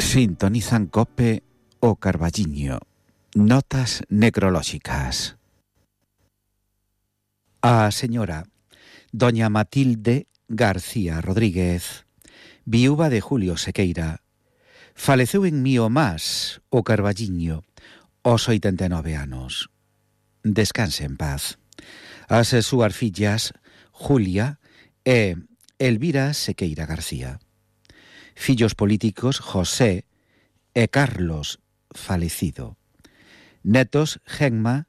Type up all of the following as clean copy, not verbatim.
Sintonizan COPE o Carballiño. Notas necrolóxicas. A señora doña Matilde García Rodríguez, viúva de Julio Sequeira, faleceu en Mío Más, o Carballiño, aos 89 anos. Descanse en paz. As súas fillas, Julia e Elvira Sequeira García. Fillos políticos, José e Carlos, falecido. Netos, Gemma,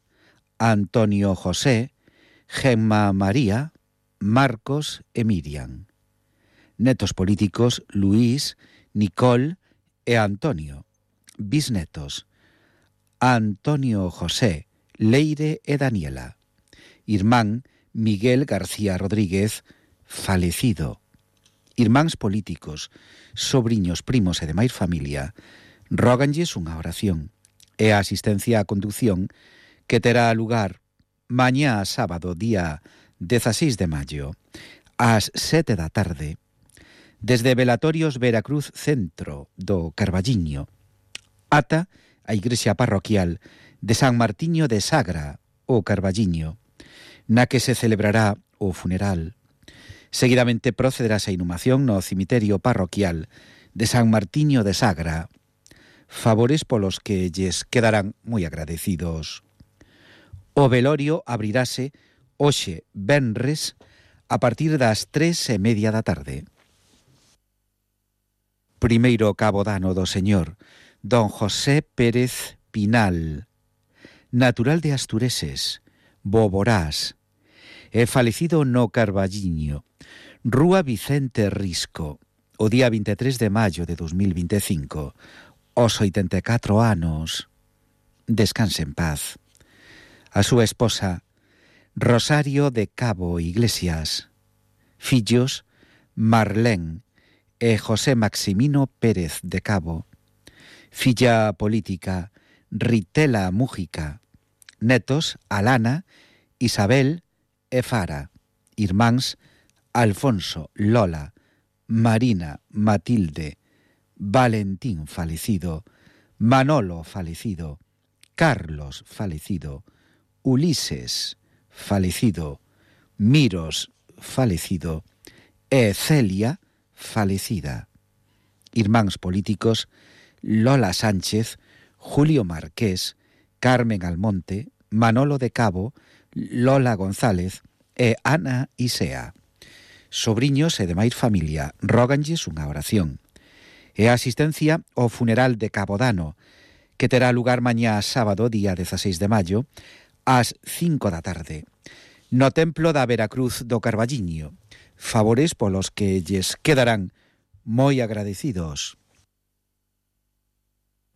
Antonio José, Gemma María, Marcos e Miriam. Netos políticos, Luís, Nicole e Antonio. Bisnetos, Antonio José, Leire e Daniela. Irmán, Miguel García Rodríguez, falecido. Irmáns políticos, sobriños, primos e demais familia, róganlles unha oración e a asistencia á conducción que terá lugar mañá sábado, día 16 de maio, ás 7 da tarde, desde Velatorios Veracruz Centro do Carballiño ata a igrexa parroquial de San Martiño de Sagra, o Carballiño, na que se celebrará o funeral. Seguidamente procederás a inhumación no cemiterio parroquial de San Martiño de Sagra, favores polos que lles quedarán moi agradecidos. O velorio abrirase hoxe, venres, a partir das 3:30 da tarde. Primeiro cabo dano do señor don José Pérez Pinal, natural de Astureses, Boborás, e falecido no Carballiño, Rúa Vicente Risco, o día 23 de maio de 2025, aos 84 anos. Descanse en paz. A súa esposa, Rosario de Cabo Iglesias. Fillos, Marlén e José Maximino Pérez de Cabo. Filla política, Ritela Mújica. Netos, Alana, Isabel e Fara. Irmáns, Alfonso, Lola, Marina, Matilde, Valentín falecido, Manolo falecido, Carlos falecido, Ulises falecido, Miros falecido e Celia falecida. Irmáns políticos, Lola Sánchez, Julio Marqués, Carmen Almonte, Manolo de Cabo, Lola González e Ana Isea. Sobriños e demais familia, róganlles unha oración. E a asistencia ao funeral de Cabo Dano, que terá lugar mañá sábado, día 16 de maio, ás 5 da tarde, no Templo da Veracruz do Carballiño, favores polos que lles quedarán moi agradecidos.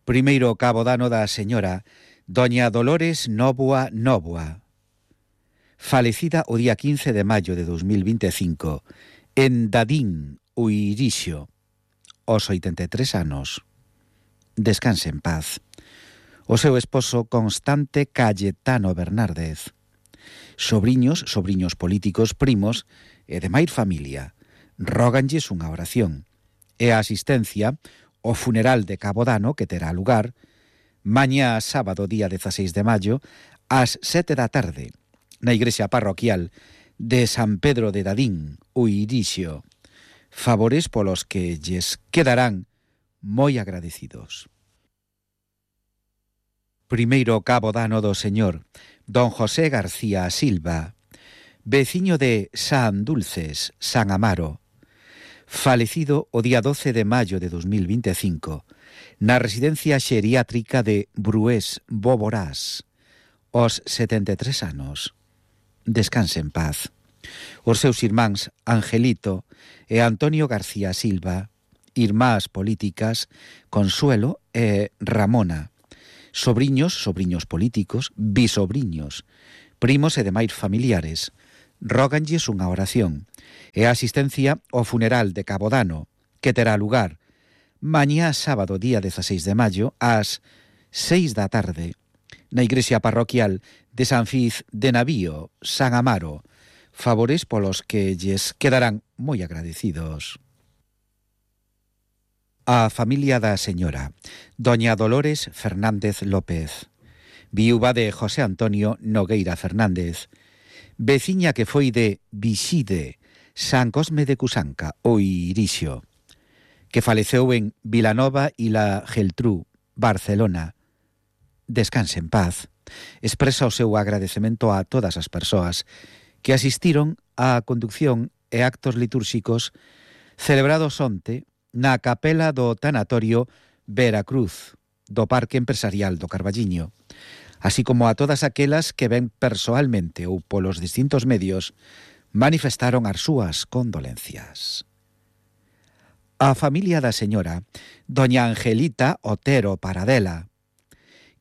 Primeiro cabo dano da señora doña Dolores Nóvoa Nóvoa, falecida o día 15 de maio de 2025, en Dadín, Uirixo, aos 83 anos. Descanse en paz. O seu esposo Constante Cayetano Bernárdez. Sobriños políticos, primos e demais familia, róganlles unha oración e a asistencia ao funeral de Cabo Dano que terá lugar mañá sábado, día 16 de maio, ás 7 da tarde, na igrexa parroquial de San Pedro de Dadín, Uirixo, favores polos que lles quedarán moi agradecidos. Primeiro cabo dano do señor don José García Silva, veciño de San Dulces, San Amaro, falecido o día 12 de maio de 2025, na residencia xeriátrica de Brués, Boborás, aos 73 anos. Descanse en paz. Os seus irmáns Angelito e Antonio García Silva, irmás políticas Consuelo e Ramona, sobriños políticos, bisobriños, primos e demais familiares, róganlles unha oración e a asistencia ao funeral de Cabo Dano, que terá lugar mañá sábado, día 16 de maio, ás 6 da tarde, na igrexa parroquial de San Fiz de Navío, San Amaro, favores polos que lles quedarán moi agradecidos. A familia da señora doña Dolores Fernández López, viúva de José Antonio Nogueira Fernández, veciña que foi de Vixide, San Cosme de Cusanca, o Irixo, que faleceu en Vilanova y la Geltrú, Barcelona. Descanse en paz. Expresa o seu agradecemento a todas as persoas que asistiron á conducción e actos litúrxicos celebrados onte na capela do tanatorio Veracruz do Parque Empresarial do Carballiño, así como a todas aquelas que ven persoalmente ou polos distintos medios manifestaron as súas condolencias. A familia da señora doña Angelita Otero Paradela,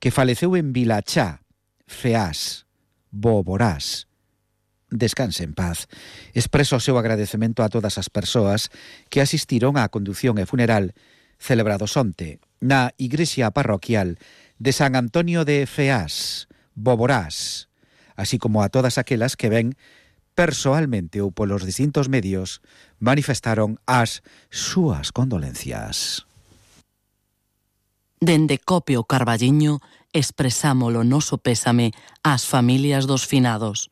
que faleceu en Vilachá, Feás, Boborás. Descanse en paz. Expreso o seu agradecemento a todas as persoas que asistiron á condución e funeral celebrados onte na igrexa parroquial de San Antonio de Feás, Boborás, así como a todas aquelas que ven persoalmente ou polos distintos medios manifestaron as súas condolencias. Dende Cope o Carballiño expresamos o noso pésame ás familias dos finados.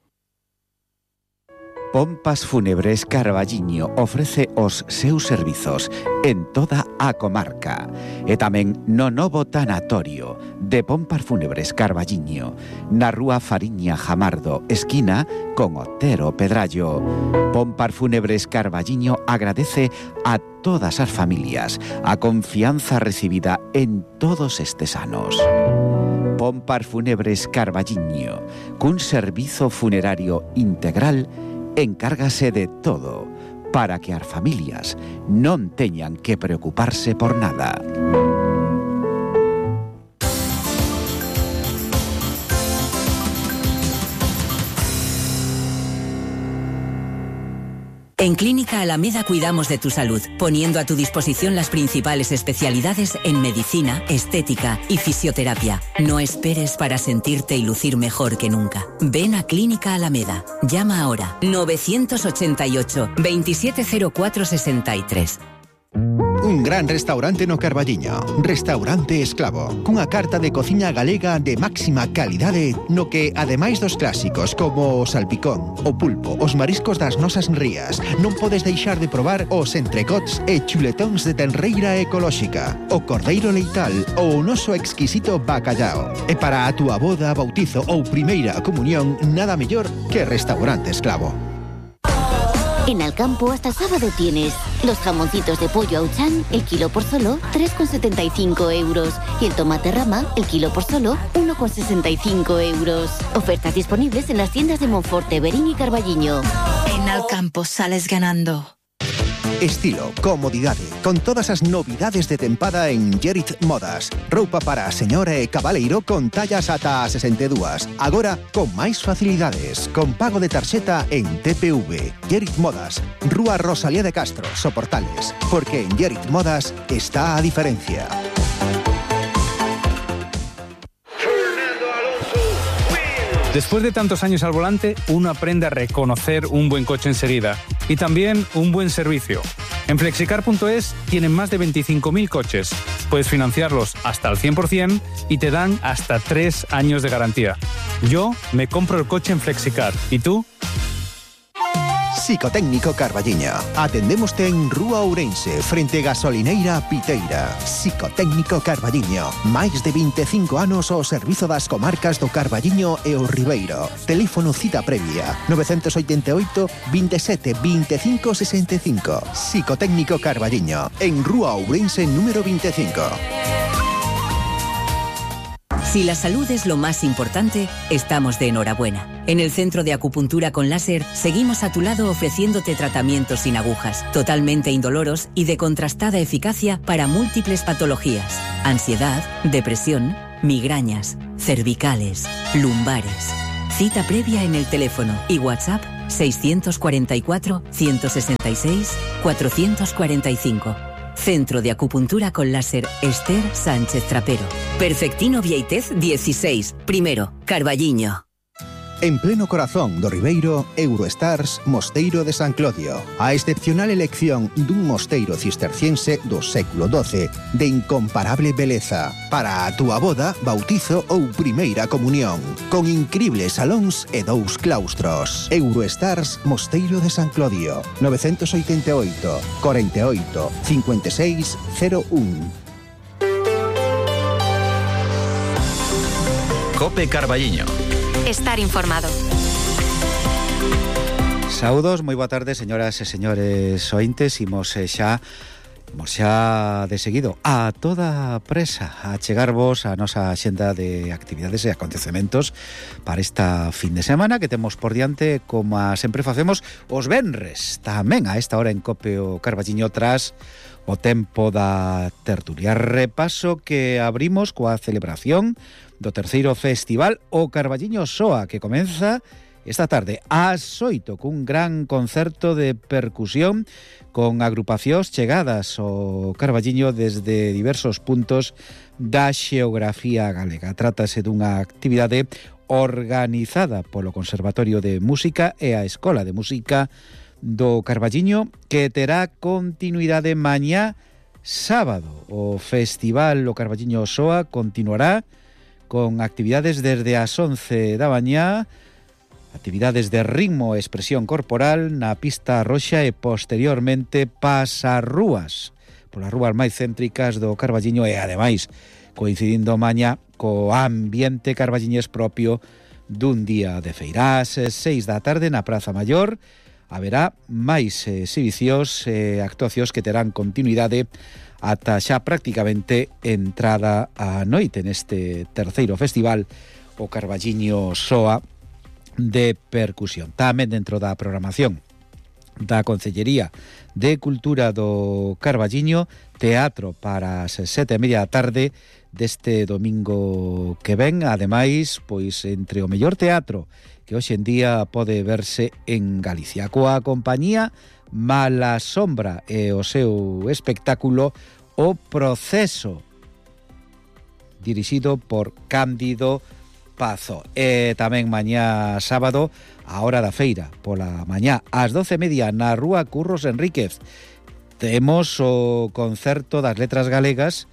Pompas Fúnebres Carballiño ofrece os seus servizos en toda a comarca e tamén no novo tanatorio de Pompas Fúnebres Carballiño na rúa Fariña Jamardo, esquina con Otero Pedrallo. Pompas Fúnebres Carballiño agradece a todas as familias a confianza recibida en todos estes anos. Pompas Fúnebres Carballiño, cun servizo funerario integral, encárgase de todo para que as familias non teñan que preocuparse por nada. En Clínica Alameda cuidamos de tu salud, poniendo a tu disposición las principales especialidades en medicina, estética y fisioterapia. No esperes para sentirte y lucir mejor que nunca. Ven a Clínica Alameda. Llama ahora 988 2704 63. Un gran restaurante no Carballiño, Restaurante Esclavo, cunha carta de cociña galega de máxima calidade no que, ademais dos clásicos como o salpicón, o pulpo, os mariscos das nosas rías, non podes deixar de probar os entrecots e chuletóns de tenreira ecolóxica, o cordeiro leital ou o noso exquisito bacallao. E para a túa boda, bautizo ou primeira comunión, nada mellor que Restaurante Esclavo. En Alcampo hasta el sábado tienes los jamoncitos de pollo Auchan, el kilo por solo 3,75 euros. Y el tomate rama, el kilo por solo 1,65 euros. Ofertas disponibles en las tiendas de Monforte, Berín y Carballiño. En Alcampo sales ganando. Estilo, comodidade, con todas as novidades de tempada en Gerit Modas. Roupa para a señora e cabaleiro con tallas ata a 62. Agora, con máis facilidades, con pago de tarxeta en TPV. Gerit Modas, Rúa Rosalía de Castro, Soportales. Porque en Gerit Modas está a diferencia. Después de tantos años al volante, uno aprende a reconocer un buen coche enseguida y también un buen servicio. En Flexicar.es tienen más de 25.000 coches. Puedes financiarlos hasta el 100% y te dan hasta 3 años de garantía. Yo me compro el coche en Flexicar. ¿Y tú? Psicotécnico Carballiño. Atendémoste en Rúa Ourense, frente Gasolineira Piteira. Psicotécnico Carballiño. Máis de 25 anos ao servizo das comarcas do Carballiño e o Ribeiro. Teléfono cita previa 988 27 25 65. Psicotécnico Carballiño. En Rúa Ourense número 25. Si la salud es lo más importante, estamos de enhorabuena. En el Centro de Acupuntura con Láser seguimos a tu lado ofreciéndote tratamientos sin agujas, totalmente indoloros y de contrastada eficacia para múltiples patologías: ansiedad, depresión, migrañas, cervicales, lumbares. Cita previa en el teléfono y WhatsApp 644 166 445. Centro de Acupuntura con Láser Esther Sánchez Trapero. Perfectino Vieitez 16, primero, Carballiño. En pleno corazón do Ribeiro, Eurostars Mosteiro de San Clodio. A excepcional elección dun mosteiro cisterciense do século XII de incomparable beleza para a túa boda, bautizo ou primeira comunión, con incribles salóns e 2 claustros. Eurostars Mosteiro de San Clodio, 988 48 56 01. Cope Carballiño. Estar informado. Saúdos, moi boa tarde, señoras e señores ointes. Imos xa de seguido a toda presa a chegarvos a nosa xenda de actividades e acontecementos para esta fin de semana que temos por diante, como sempre facemos os venres, tamén a esta hora en Cope o Carballiño, tras o tempo da tertulia. Repaso que abrimos coa celebración do terceiro festival O Carballiño Soa, que comeza esta tarde ás 8 cun gran concerto de percusión con agrupacións chegadas ao Carballiño desde diversos puntos da xeografía galega. Trátase dunha actividade organizada polo Conservatorio de Música e a Escola de Música do Carballiño, que terá continuidade mañá sábado. O Festival O Carballiño Soa continuará con actividades desde as 11 da mañá, actividades de ritmo e expresión corporal na pista roxa e posteriormente pasarrúas polas rúas máis céntricas do Carballiño e ademais coincidindo mañá co ambiente carballiñés propio dun día de feira. Ás 6 da tarde na Praza Maior haberá máis exhibicións e actuacións que terán continuidade ata xa prácticamente entrada a noite neste terceiro festival O Carballiño Soa de percusión. Tamén dentro da programación da Concellería de Cultura do Carballiño, teatro para as 7:30 da tarde deste domingo que ven. Ademais, pois entre o mellor teatro que hoxe en día pode verse en Galicia, coa compañía Mala Sombra e o seu espectáculo O Proceso, dirixido por Cándido Pazo. E tamén mañá sábado, a hora da feira, pola mañá ás 12:30 na rúa Curros Enríquez, temos o concerto das letras galegas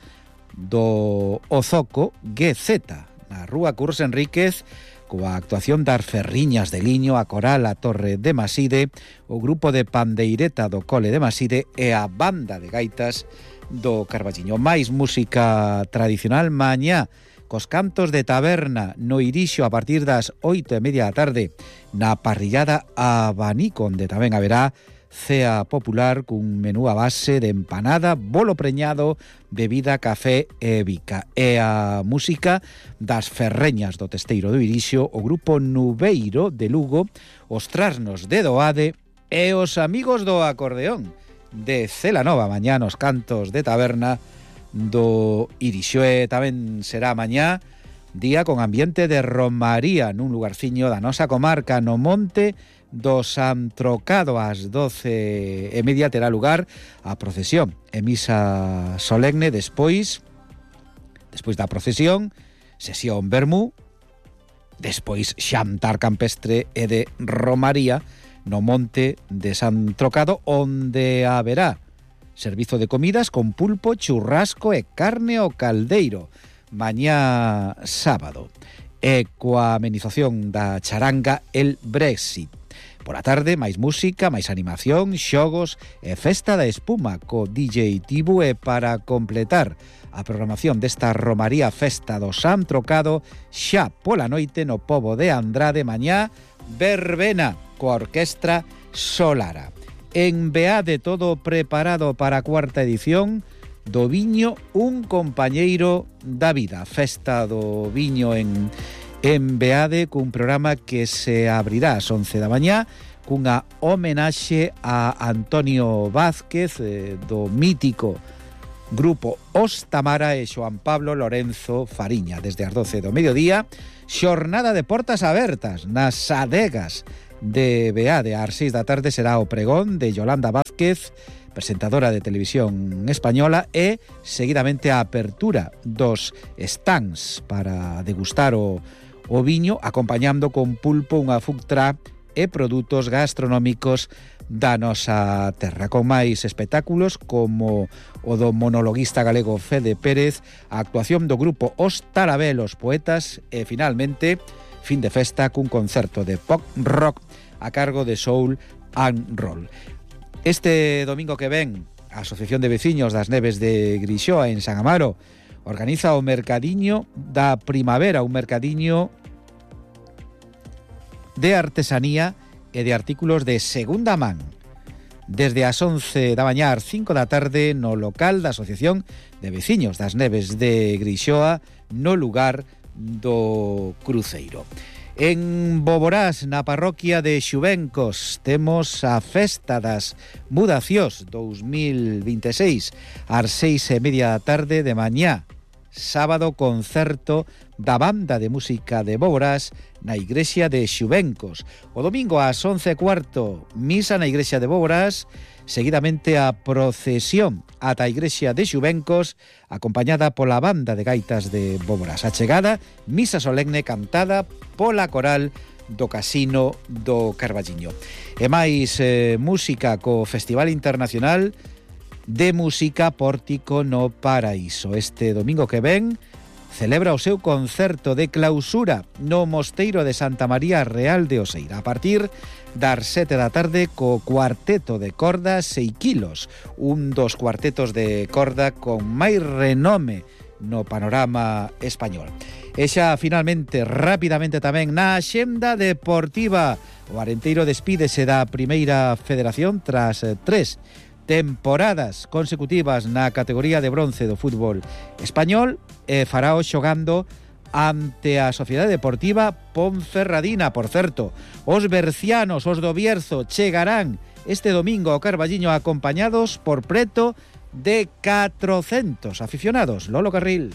do Ozoco GZ na rúa Curros Enríquez, coa actuación das Ferriñas de Liño, a Coral A Torre de Maside, o grupo de pandeireta do Cole de Maside e a banda de gaitas do Carballiño. Máis música tradicional mañá, cos cantos de taberna no Irixo a partir das 8:30 da tarde, na parrillada Abanico, onde tamén haberá cea popular cun menú a base de empanada, bolo preñado, bebida, café e bica. E a música das Ferreñas do Testeiro do Irixo, o grupo Nubeiro de Lugo, os Trasnos de Doade e os Amigos do Acordeón de Celanova, mañá nos cantos de taberna do Irixo. E tamén será mañá día con ambiente de romaría nun lugarciño da nosa comarca, no Monte do San Trocado. Ás 12:30 terá lugar a procesión e misa solemne. Despois da procesión, sesión vermú, despois xantar campestre e de romaría no Monte de San Trocado, onde haberá servizo de comidas con pulpo, churrasco e carne ao caldeiro mañá sábado, e coa amenización da charanga El Brexit. Pola tarde, máis música, máis animación, xogos e festa da espuma co DJ Tibu. E para completar a programación desta romaría festa do San Trocado, xa pola noite no Pobo de Andrade, mañá verbena coa orquestra Solara. En Beade, todo preparado para a cuarta edición do Viño, un compañeiro da vida. Festa do Viño en Beade, cun programa que se abrirá ás 11 da mañá cunha homenaxe a Antonio Vázquez, do mítico grupo Os Tamara, e Xoan Pablo Lorenzo Fariña. Desde as 12 do mediodía, xornada de portas abertas nas adegas de Beade. Ás 6 da tarde será o pregón de Yolanda Vázquez, presentadora de televisión española, e seguidamente a apertura dos stands para degustar o o viño, acompañando con pulpo unha food truck e produtos gastronómicos da nosa terra, con máis espectáculos como o do monologuista galego Fede Pérez, a actuación do grupo Os Tarabelos Poetas e, finalmente, fin de festa cun concerto de pop rock a cargo de Soul and Roll. Este domingo que ven, a Asociación de Veciños das Neves de Grixoa en San Amaro organiza o mercadiño da primavera, un mercadiño de artesanía e de artículos de segunda man. Desde as 11 da mañá ás 5 da tarde no local da Asociación de Veciños das Neves de Grixoa, no lugar do Cruceiro. En Boborás, na parroquia de Xubencos, temos a Festa das Mudacións 2026 ás 6:30 da tarde de mañá. Sábado, concerto da Banda de Música de Boborás na Igrexa de Xubencos. O domingo ás 11:15, misa na Igrexa de Boborás, seguidamente a procesión ata a Igrexa de Xubencos, acompañada pola Banda de Gaitas de Boborás. A chegada, misa solemne cantada pola coral do Casino do Carballiño. E máis música co Festival Internacional de Música Pórtico no Paraíso. Este domingo que ven celebra o seu concerto de clausura no Mosteiro de Santa María Real de Oseira, a partir das 7 da tarde co cuarteto de corda 6 kilos, un dos cuartetos de corda con máis renome no panorama español. E xa, finalmente, rapidamente tamén, na axenda deportiva, o Arenteiro despídese da Primeira Federación tras 3 temporadas consecutivas na categoría de bronce do fútbol español e farao xogando ante a Sociedade Deportiva Ponferradina. Por certo, os bercianos, os do Bierzo, chegarán este domingo ao Carballiño acompañados por preto de 400 aficionados. Lolo Carril.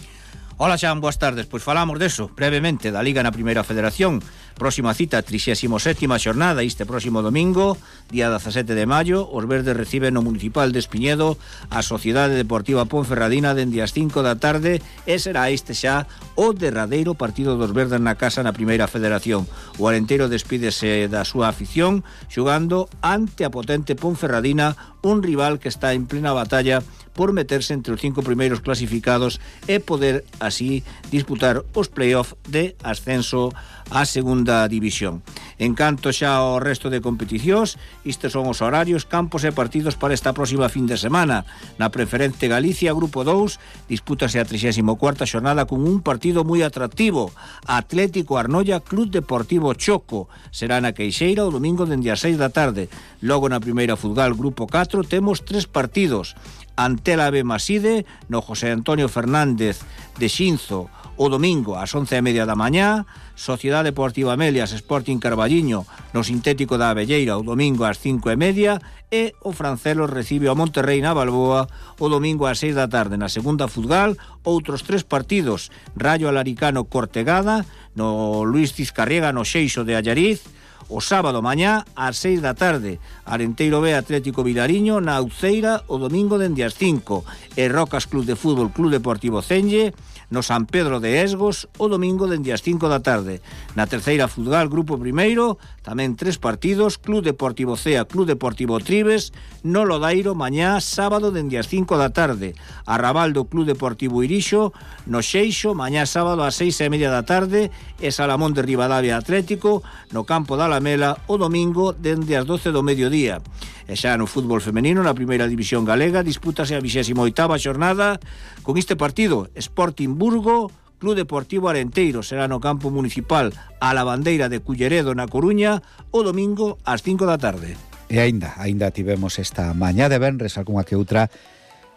Ola, Xan, boas tardes. Pois falamos deso, brevemente, da Liga na Primeira Federación. Próxima cita, 37ª xornada, este próximo domingo, día 17 de maio. Os verdes reciben no Municipal de Espiñedo a Sociedade Deportiva Ponferradina dende as 5 da tarde e será este xa o derradeiro partido dos verdes na casa na Primeira Federación. O Arenteiro despídese da súa afición xogando ante a potente Ponferradina, un rival que está en plena batalla por meterse entre os 5 primeiros clasificados e poder así disputar os play-off de ascenso á segunda división. En canto xa ao resto de competicións, estes son os horarios, campos e partidos para esta próxima fin de semana. Na Preferente Galicia, Grupo 2, dispútase a 34ª xornada con un partido moi atractivo. Atlético Arnoia, Club Deportivo Choco. Será na Queixeira o domingo dende as 6 da tarde. Logo na Primeira Futgal, Grupo 4, temos 3 partidos. Antela B Maside no José Antonio Fernández de Xinzo o domingo ás 11:30 da mañá, Sociedade Deportiva Melias Sporting Carballiño no Sintético da Abelleira o domingo ás 5:30 e o Francelos recibe ao Monterrei na Balboa o domingo ás 6 da tarde. Na segunda Futgal, outros 3 partidos: Rayo Alaricano Cortegada no Luis Cizcarriega no Xeixo de Allariz, o sábado mañá ás 6 da tarde, Arenteiro B Atlético Vilariño na Uceira o domingo dende as 5 e Rocas Club de Fútbol Club Deportivo Cenlle no San Pedro de Esgos o domingo dende as 5 da tarde. Na terceira Futgal Grupo Primeiro tamén 3 partidos: Club Deportivo Cea Club Deportivo Tribes no Lodairo mañá sábado dende as 5 da tarde, Arrabaldo Club Deportivo Irixo no Xeixo mañá sábado ás 6:30 da tarde e Salamón de Ribadavia Atlético no campo da Alamela o domingo dende as 12 do mediodía. E xa no fútbol femenino, na primeira división galega, dispútase a 28ª xornada con este partido: Sporting Burgo, Club Deportivo Arenteiro. Será no campo municipal a la Bandeira de Culleredo na Coruña o domingo ás 5 da tarde. E aínda tivemos esta mañá de venres algunha que outra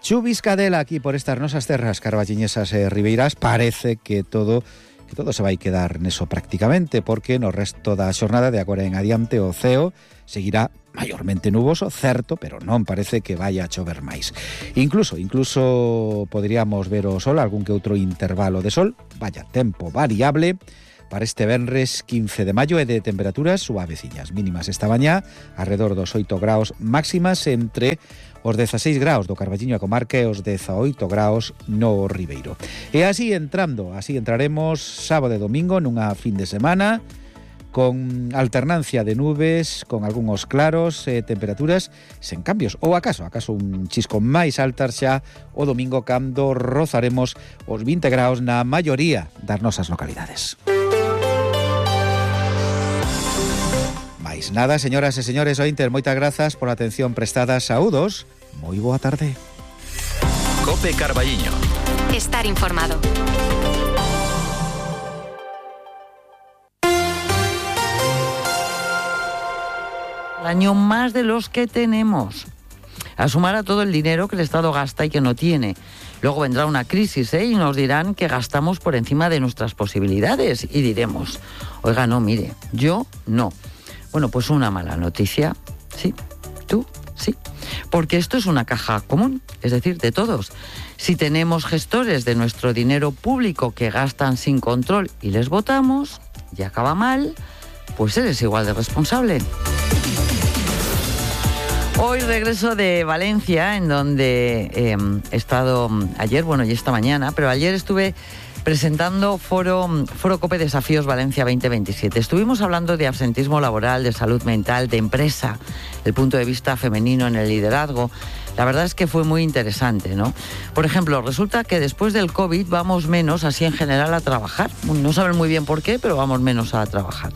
chuviscadela aquí por estas nosas terras carballiñesas e ribeiras. Parece que todo se vai quedar neso prácticamente, porque no resto da xornada de agora en adiante o ceo seguirá maiormente nuboso, certo, pero non parece que vaya a chover máis. Incluso poderíamos ver o sol, algún que outro intervalo de sol, vaya tempo variable, para este venres 15 de maio e de temperaturas suaveciñas. Mínimas esta mañá, alrededor dos 8 graus, máximas entre os 16 graus do Carballiño a comarca e os 18 graus no Ribeiro. E así entraremos sábado e domingo nunha fin de semana con alternancia de nubes, con algúns claros e temperaturas sen cambios. Ou acaso un chisco máis altas xa o domingo cando rozaremos os 20 graus na maioría das nosas localidades. Mais nada, señoras e señores ointes, moitas grazas por a atención prestada. Saúdos, moi boa tarde. Cope Carballiño. Estar informado. Año más de los que tenemos. A sumar a todo el dinero que el Estado gasta y que no tiene. Luego vendrá una crisis, y nos dirán que gastamos por encima de nuestras posibilidades. Y diremos, oiga, no, mire, yo no. Bueno, pues una mala noticia. Sí, tú, sí. Porque esto es una caja común, es decir, de todos. Si tenemos gestores de nuestro dinero público que gastan sin control y les votamos, y acaba mal, pues eres igual de responsable. Hoy regreso de Valencia, en donde he estado ayer, y esta mañana, pero ayer estuve presentando Foro COPE Desafíos Valencia 2027. Estuvimos hablando de absentismo laboral, de salud mental, de empresa, el punto de vista femenino en el liderazgo. La verdad es que fue muy interesante, ¿no? Por ejemplo, resulta que después del COVID vamos menos, así en general, a trabajar. No saben muy bien por qué, pero vamos menos a trabajar.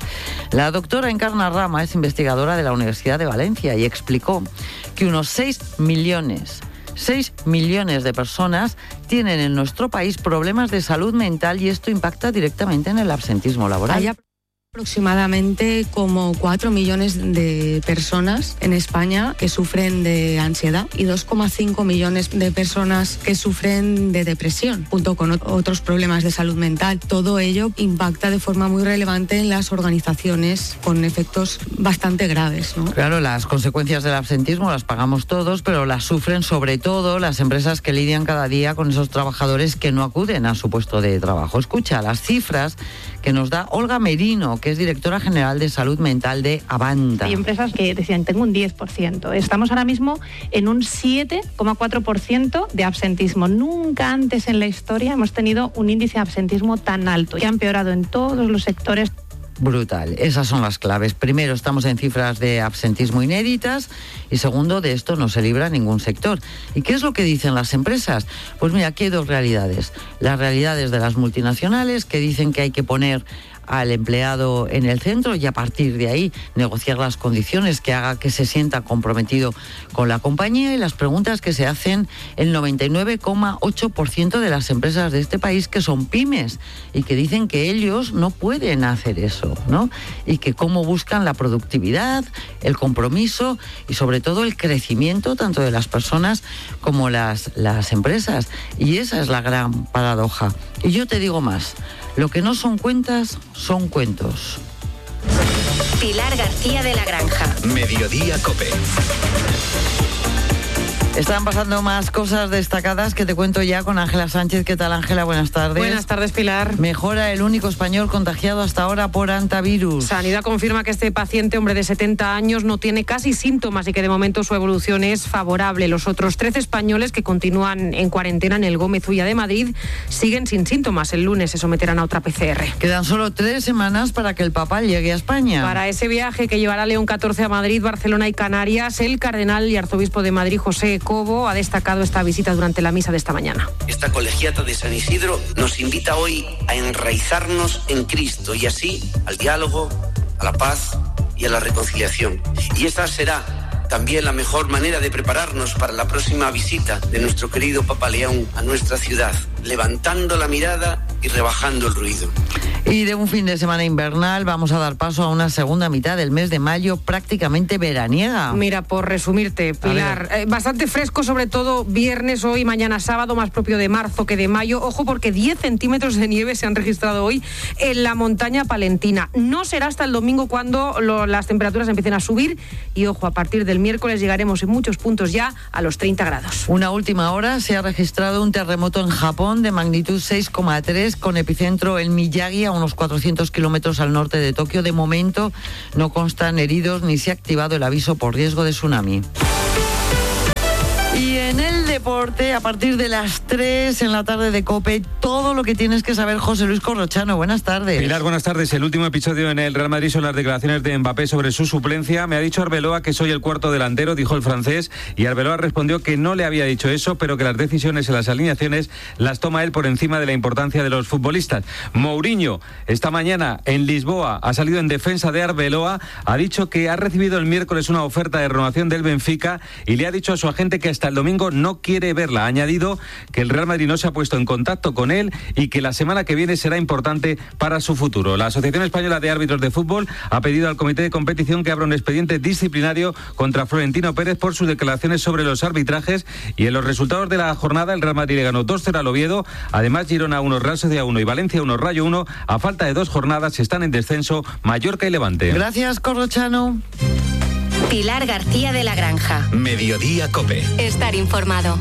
La doctora Encarna Rama es investigadora de la Universidad de Valencia y explicó que unos 6 millones de personas tienen en nuestro país problemas de salud mental y esto impacta directamente en el absentismo laboral. Hay aproximadamente como 4 millones de personas en España que sufren de ansiedad y 2,5 millones de personas que sufren de depresión, junto con otros problemas de salud mental. Todo ello impacta de forma muy relevante en las organizaciones con efectos bastante graves, ¿no? Claro, las consecuencias del absentismo las pagamos todos, pero las sufren sobre todo las empresas que lidian cada día con esos trabajadores que no acuden a su puesto de trabajo. Escucha las cifras que nos da Olga Merino, que es directora general de salud mental de Avanta. Hay empresas que decían, tengo un 10%. Estamos ahora mismo en un 7,4% de absentismo. Nunca antes en la historia hemos tenido un índice de absentismo tan alto. Y ha empeorado en todos los sectores. Brutal. Esas son las claves. Primero, estamos en cifras de absentismo inéditas y segundo, de esto no se libra ningún sector. ¿Y qué es lo que dicen las empresas? Pues mira, aquí hay dos realidades. Las realidades de las multinacionales que dicen que hay que poner al empleado en el centro y a partir de ahí negociar las condiciones que haga que se sienta comprometido con la compañía, y las preguntas que se hacen el 99,8% de las empresas de este país, que son pymes y que dicen que ellos no pueden hacer eso, ¿no? Y que cómo buscan la productividad, el compromiso y sobre todo el crecimiento tanto de las personas como las empresas. Y esa es la gran paradoja. Y yo te digo más, lo que no son cuentas, son cuentos. Pilar García de la Granja. Mediodía Cope. Están pasando más cosas destacadas que te cuento ya con Ángela Sánchez. ¿Qué tal, Ángela? Buenas tardes. Buenas tardes, Pilar. Mejora el único español contagiado hasta ahora por hantavirus. Sanidad confirma que este paciente, hombre de 70 años, no tiene casi síntomas y que de momento su evolución es favorable. Los otros 13 españoles que continúan en cuarentena en el Gómez Ulla de Madrid siguen sin síntomas. El lunes se someterán a otra PCR. Quedan solo 3 semanas para que el Papa llegue a España. Para ese viaje que llevará León XIV a Madrid, Barcelona y Canarias, el cardenal y arzobispo de Madrid, José Cobo, ha destacado esta visita durante la misa de esta mañana. Esta colegiata de San Isidro nos invita hoy a enraizarnos en Cristo y así al diálogo, a la paz y a la reconciliación. Y esa será también la mejor manera de prepararnos para la próxima visita de nuestro querido Papa León a nuestra ciudad, levantando la mirada y rebajando el ruido. Y de un fin de semana invernal vamos a dar paso a una segunda mitad del mes de mayo prácticamente veraniega. Mira, por resumirte, Pilar, bastante fresco, sobre todo viernes, hoy, mañana sábado, más propio de marzo que de mayo. Ojo, porque 10 centímetros de nieve se han registrado hoy en la montaña palentina. No será hasta el domingo cuando las temperaturas empiecen a subir y, ojo, a partir del miércoles llegaremos en muchos puntos ya a los 30 grados. Una última hora, se ha registrado un terremoto en Japón de magnitud 6,3 con epicentro en Miyagi, a unos 400 kilómetros al norte de Tokio. De momento no constan heridos ni se ha activado el aviso por riesgo de tsunami. Y en el deporte, a partir de las 3 en la tarde de COPE, todo lo que tienes que saber, José Luis Corrochano. Buenas tardes. Pilar, buenas tardes. El último episodio en el Real Madrid son las declaraciones de Mbappé sobre su suplencia. Me ha dicho Arbeloa que soy el cuarto delantero, dijo el francés, y Arbeloa respondió que no le había dicho eso, pero que las decisiones en las alineaciones las toma él por encima de la importancia de los futbolistas. Mourinho, esta mañana en Lisboa, ha salido en defensa de Arbeloa, ha dicho que ha recibido el miércoles una oferta de renovación del Benfica y le ha dicho a su agente que hasta el domingo no quiere verla. Ha añadido que el Real Madrid no se ha puesto en contacto con él y que la semana que viene será importante para su futuro. La Asociación Española de Árbitros de Fútbol ha pedido al Comité de Competición que abra un expediente disciplinario contra Florentino Pérez por sus declaraciones sobre los arbitrajes. Y en los resultados de la jornada, el Real Madrid le ganó 2-0 al Oviedo. Además, Girona 1, Real Sociedad 1 y Valencia 1, Rayo 1. A falta de 2 jornadas están en descenso Mallorca y Levante. Gracias, Corrochano. Pilar García de la Granja. Mediodía COPE. Estar informado.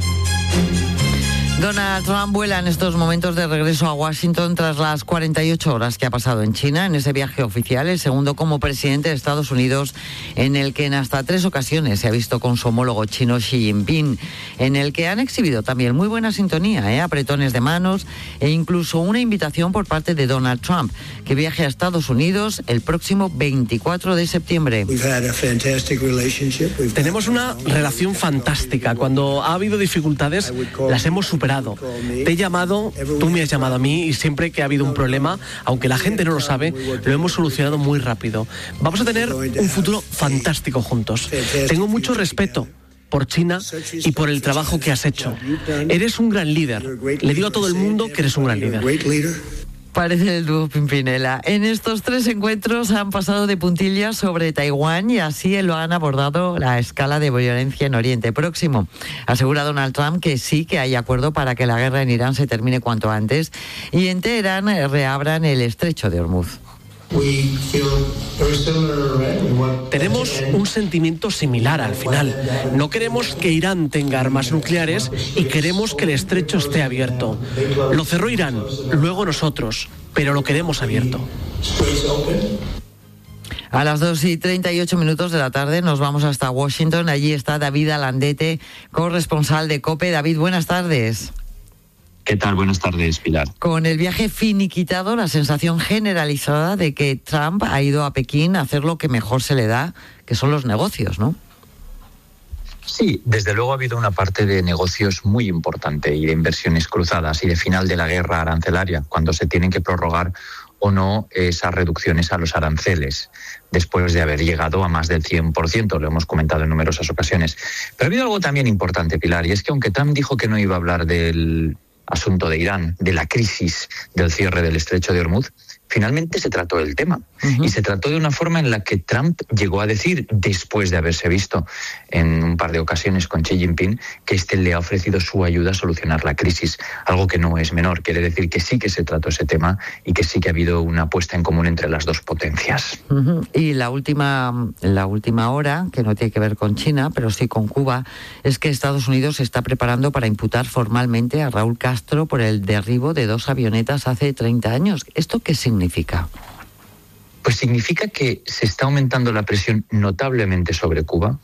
Donald Trump vuela en estos momentos de regreso a Washington tras las 48 horas que ha pasado en China, en ese viaje oficial, el segundo como presidente de Estados Unidos, en el que en hasta 3 ocasiones se ha visto con su homólogo chino Xi Jinping, en el que han exhibido también muy buena sintonía, apretones de manos e incluso una invitación por parte de Donald Trump, que viaje a Estados Unidos el próximo 24 de septiembre. Tenemos una relación fantástica. Cuando ha habido dificultades, las hemos superado. Te he llamado, tú me has llamado a mí y siempre que ha habido un problema, aunque la gente no lo sabe, lo hemos solucionado muy rápido. Vamos a tener un futuro fantástico juntos. Tengo mucho respeto por China y por el trabajo que has hecho. Eres un gran líder. Le digo a todo el mundo que eres un gran líder. Parece el dúo Pimpinela. En estos 3 encuentros han pasado de puntillas sobre Taiwán y así lo han abordado la escala de violencia en Oriente Próximo. Asegura Donald Trump que sí que hay acuerdo para que la guerra en Irán se termine cuanto antes y en Teherán reabran el estrecho de Hormuz. Tenemos un sentimiento similar al final. No queremos que Irán tenga armas nucleares y queremos que el estrecho esté abierto. Lo cerró Irán, luego nosotros, pero lo queremos abierto. A las 2:38 de la tarde nos vamos hasta Washington. Allí está David Alandete, corresponsal de COPE. David, buenas tardes. ¿Qué tal? Buenas tardes, Pilar. Con el viaje finiquitado, la sensación generalizada de que Trump ha ido a Pekín a hacer lo que mejor se le da, que son los negocios, ¿no? Sí, desde luego ha habido una parte de negocios muy importante y de inversiones cruzadas y de final de la guerra arancelaria, cuando se tienen que prorrogar o no esas reducciones a los aranceles, después de haber llegado a más del 100%, lo hemos comentado en numerosas ocasiones. Pero ha habido algo también importante, Pilar, y es que aunque Trump dijo que no iba a hablar del asunto de Irán, de la crisis del cierre del estrecho de Hormuz, finalmente se trató el tema. Y se trató de una forma en la que Trump llegó a decir, después de haberse visto en un par de ocasiones con Xi Jinping, que este le ha ofrecido su ayuda a solucionar la crisis, algo que no es menor. Quiere decir que sí que se trató ese tema y que sí que ha habido una puesta en común entre las dos potencias. Y la última hora, que no tiene que ver con China, pero sí con Cuba, es que Estados Unidos se está preparando para imputar formalmente a Raúl Castro por el derribo de 2 avionetas hace 30 años. ¿Esto qué significa? Pues significa que se está aumentando la presión notablemente sobre Cuba.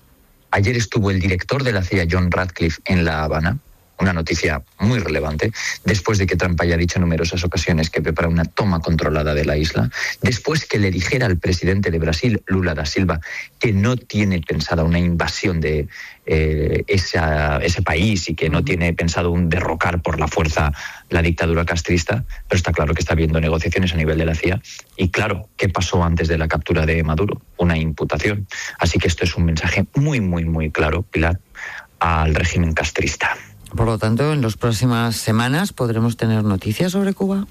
Ayer estuvo el director de la CIA, John Ratcliffe, en La Habana, una noticia muy relevante, después de que Trump haya dicho en numerosas ocasiones que prepara una toma controlada de la isla, después que le dijera al presidente de Brasil, Lula da Silva, que no tiene pensada una invasión de ese país y que no tiene pensado un derrocar por la fuerza la dictadura castrista, pero está claro que está habiendo negociaciones a nivel de la CIA. Y claro, ¿qué pasó antes de la captura de Maduro? Una imputación. Así que esto es un mensaje muy, muy, muy claro, Pilar, al régimen castrista. Por lo tanto, en las próximas semanas podremos tener noticias sobre Cuba.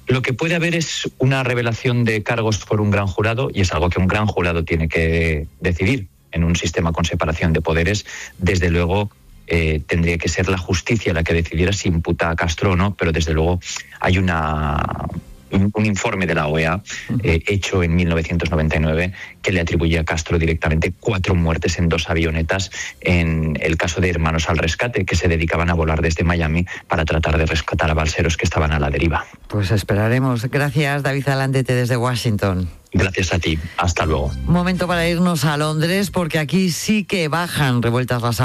Lo que puede haber es una revelación de cargos por un gran jurado, y es algo que un gran jurado tiene que decidir en un sistema con separación de poderes. Desde luego tendría que ser la justicia la que decidiera si imputa a Castro o no, pero desde luego hay una un informe de la OEA hecho en 1999 que le atribuye a Castro directamente 4 muertes en 2 avionetas en el caso de Hermanos al Rescate, que se dedicaban a volar desde Miami para tratar de rescatar a balseros que estaban a la deriva. Pues esperaremos. Gracias, David Zalandete, desde Washington. Gracias a ti. Hasta luego. Momento para irnos a Londres, porque aquí sí que bajan revueltas las